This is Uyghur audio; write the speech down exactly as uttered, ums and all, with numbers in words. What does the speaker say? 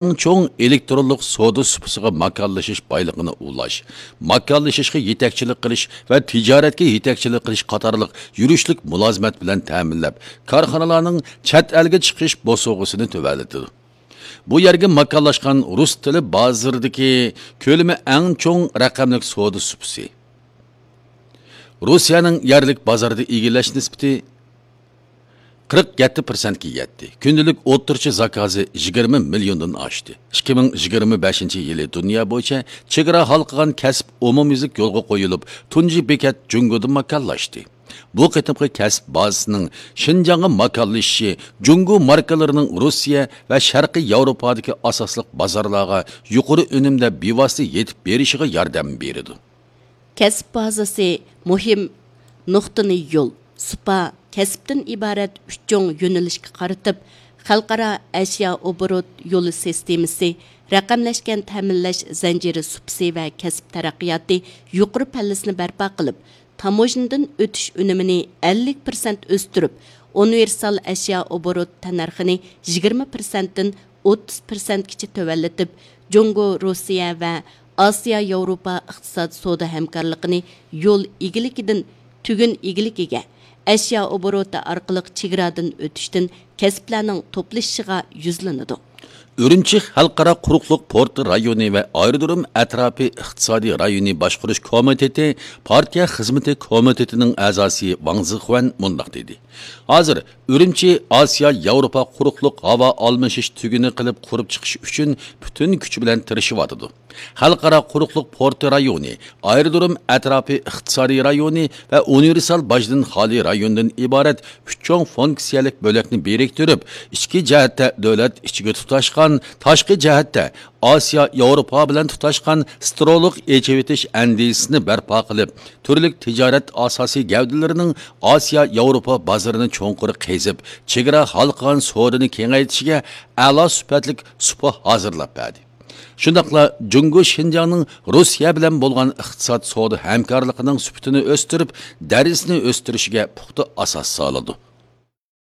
چوڭ ئېلېكترونلۇق سودا سۇپىسىغا ماكانلىشىش بايلىقىنى ئۇلاش، ماكانلىشىشقا يېتەكچىلىك قىلىش ۋە تىجارەتكە يېتەكچىلىك قىلىش قاتارلىق يۈرۈشلۈك مۇلازىمەت بىلەن تەمىنلەپ، كارخانىلارنىڭ چەت ئەلگە چىقىش بوسۇغىسىنى تۆۋەنلىتىدۇ. بۇ يەرگە ماكانلاشقان رۇس تىلى بازىرىدىكى كۆلىمى ئەڭ چوڭ رەقەملىك سودا سۇپىسى. روسىيەنىڭ يەرلىك بازاردا ئىگىلەش نىسبىتى قىرىق يەتتە پىرسەنتكە يەتتى. كۈندىلىك ئوتتۇرىچە زاكازى يىگىرمە مىليوندىن ئاشتى. ئىككى مىڭ يىگىرمە بەشىنچى يىلى دۇنيا بويىچە چېگرا ھالقىغان كەسىپ ئومۇميۈزلۈك يولغا قويۇلۇپ، تۇنجى بېكەت جۇڭگودا ماكانلاشتى. بۇ قېتىمقى كەسىپ بازىسىنىڭ شىنجاڭغا ماكانلىشىشى جۇڭگو ماركىلىرىنىڭ روسىيە ۋە شەرقىي ياۋروپادىكى ئاساسلىق بازارلارغا يۇقىرى ئۈنۈمدە بىۋاسىتە يېتىپ بېرىشىغا ياردەم بېرىدۇ. كەسىپ بازىسى مۇھىم نۇقتىنى يول، سۇپا، كەسىپتىن ئىبارەت ئۈچ چوڭ يۆنىلىشكە قارىتىپ، خەلقئارا ئەشيا ئوبوروت يولى سىستېمىسى، رەقەملەشكەن تەمىنلەش زەنجىرى سۇپىسى ۋە كەسىپ تەرەققىياتى يۇقىرى پەللىسىنى بەرپا قىلىپ، تاموژنىدىن ئۆتۈش ئۈنۈمىنى ئەللىك پىرسەنت ئۆستۈرۈپ، ئۇنىۋېرسال ئەشيا ئوبوروت تەننەرخىنى يىگىرمە پىرسەنتتىن ئوتتۇز پىرسەنتكىچە تۆۋەنلىتىپ، جۇڭگو، روسىيە ۋە ئاسىيا ياۋروپا ئىقتىساد سودا ھەمكارلىقىنى يول ئىگىلىكىدىن تۈگۈن ئىگىلىكىگە، ئەشيا ئوبوروتى ئارقىلىق چېگرادىن ئۆتۈشتىن كەسىپلەرنىڭ توپلىشىشىغا يۈزلىنىدۇ. ئۈرۈمچى خەلقئارا قۇرۇقلۇق پورتى رايونى ۋە ئايرودروم ئەتراپى ئىقتىسادىي رايونى باشقۇرۇش كومىتېتى پارتىيە خىزمىتى كومىتېتىنىڭ ئەزاسى ۋاڭ زىخۇەن مۇنداق دېدى: ھازىر ئۈرۈمچى ئاسىيا ياۋروپا قۇرۇقلۇق ھاۋا ئالمىشىش تۈگۈنى قىلىپ قۇرۇپ چىقىش ئۈچۈن پۈتۈن كۈچى بىلەن تىرىشىۋاتىدۇ. خەلقئارا قۇرۇقلۇق پورتى رايونى، ئايرودروم ئەتراپى ئىقتىسادىي رايونى ۋە ئۇنىۋېرسال باجدىن خالىي رايوندىن ئىبارەت ئۈچ چوڭ فۇنكسىيەلىك بۆلەكنى بىرىكتۈرۈپ، ئىچكى جەھەتتە دۆلەت ئىچىگە تۇتاشقان، تاشقى جەھەتتە ئاسىيا ياۋروپا بىلەن تۇتاشقان سترولۇق ئېچىۋېتىش ئەندىزىسىنى بەرپا قىلىپ، تۈرلۈك تىجارەت ئاساسىي گەۋدىلىرىنىڭ ئاسىيا ياۋروپا بازىرىنى چوڭقۇر قېزىپ، چېگرا ھالقىغان سودىنى كېڭەيتىشىگە ئەلا سۈپەتلىك سۇپا ھازىرلاپ بەردى. شۇنداقلا جۇڭگو شىنجاڭنىڭ روسىيە بىلەن بولغان ئىقتىساد سودا ھەمكارلىقىنىڭ سۈپىتىنى ئۆستۈرۈپ، دەرىجىسىنى ئۆستۈرۈشىگە پۇختا ئاساس سالىدۇ.